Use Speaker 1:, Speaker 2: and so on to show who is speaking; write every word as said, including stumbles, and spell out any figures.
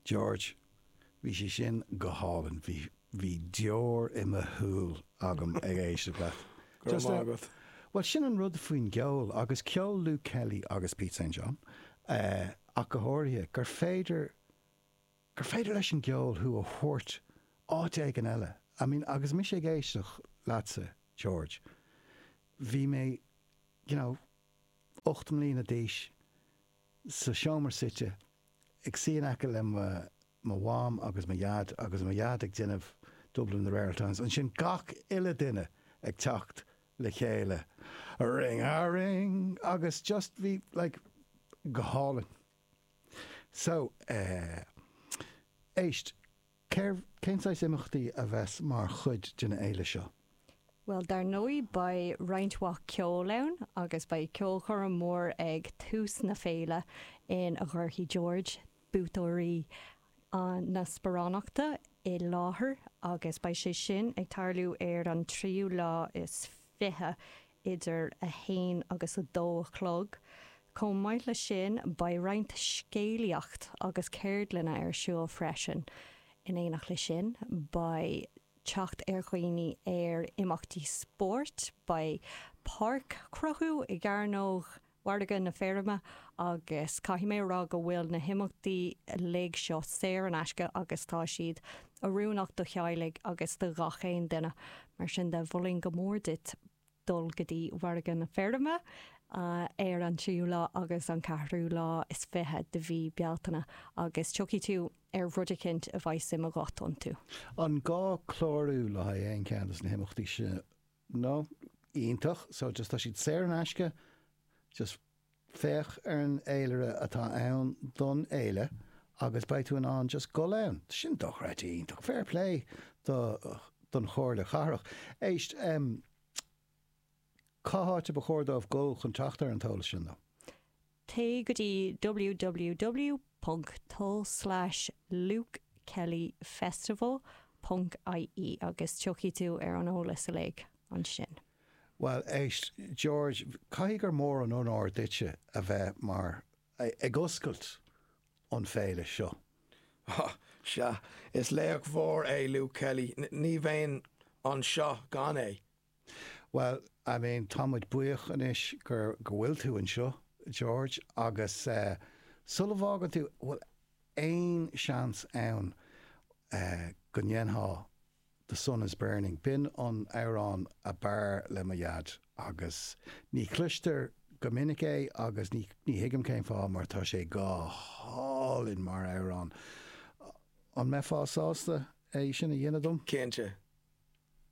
Speaker 1: George, bhí sé sin go hálainn, bhí bhí deor i mo shúil agam ag éisteacht leat.
Speaker 2: Go
Speaker 1: Just,
Speaker 2: raibh
Speaker 1: uh,
Speaker 2: maith agat.
Speaker 1: Well sin an rud faoin gceol agus ceol Luke Kelly agus Pete St. John uh, ach go háirithe gur féidir gur féidir leis an gceol thú a thabhairt áit éigin eile. I mean, agus mise ag éisteacht leatsa, George. Bhí mé you know, ocht mbliana d'aois sa seomra suite ag suí in aice le mo mo mham agus mo dhaid agus mo dhaid ag déanamh Dublin the Rare Times ansin gach uile duine ag teacht le chéile. Ring a ring agus just bhí like, go hálainn. So uh, éist cér cén saghas imeachtaí a bheas mar chuid den fhéile seo.
Speaker 3: Well dar ndóigh beidh roinnt mhaith ceoil ann agus beidh ceolchoirm mór ag tús na féile ina gcuirfidh George buaiteoirí na sparánachta i láthair agus beidh sé sin ag tarlú ar an tríú lá is fiche idir a haon agus a dó a chlog. Chomh maith le sin beidh roinnt scéalaíocht agus ceardlanna ar siúl freisin. In éineacht le sin beidh teacht ar dhaoine ar imeachtaí spóirt, beidh páirc chruthú i gcearnóg Mhargadh na Feirme agus caithfidh mé rá go bhfuil na himeachtaí uilig seo saor in aisce agus tá siad oiriúnach do theaghlaigh agus do gach aon duine mar sin de mholfainn go mór duit dul go dtí Margadh na Feirme uh, ar an tríú lá agus an ceathrú lá is fiche de mhí Bealtaine agus tiocfaidh tú ar rud éicint a bheidh suim agat iontu.
Speaker 1: An gá clárú le haghaidh aon cheann de na himeachtaí sin nó iontach, so just tá siad saor in aisce, just féach ar an fhéilire atá ann don fhéile agus beidh tú in ann just dul ann. Sin dochreidte iontach fair play do don Chomhairle Cathrach. Éist um, cá háit ba chóir dóibh dul chun teacht ar an t-eolas sin though.
Speaker 3: Téigh go dtí www.tul slash lukekellyfestival.ie agus tiocfaidh tú ar an eolas uilig ansin.
Speaker 1: Well éist George caithfidh gur mór an onóir duitse a bheith mar ag oscailt an féile seo.
Speaker 2: Sea, is laoch mhór é Luke Kelly, ní bheinn anseo gan é.
Speaker 1: Well, I mean táimid buíoch anois gur go bhfuil tú anseo, George, agus uh, sula bhfágann tú bhfuil aon seans ann uh, go ndéanfá The Sun is Burning. B'in an amhrán ab fhearr le mo dhaid agus ní chloistear go minic é agus ní ní thuigim cén fáth mar tá sé go hálainn mar amhrán. An mbeifeá sásta é sin a dhéanamh dom?
Speaker 2: Cinnte.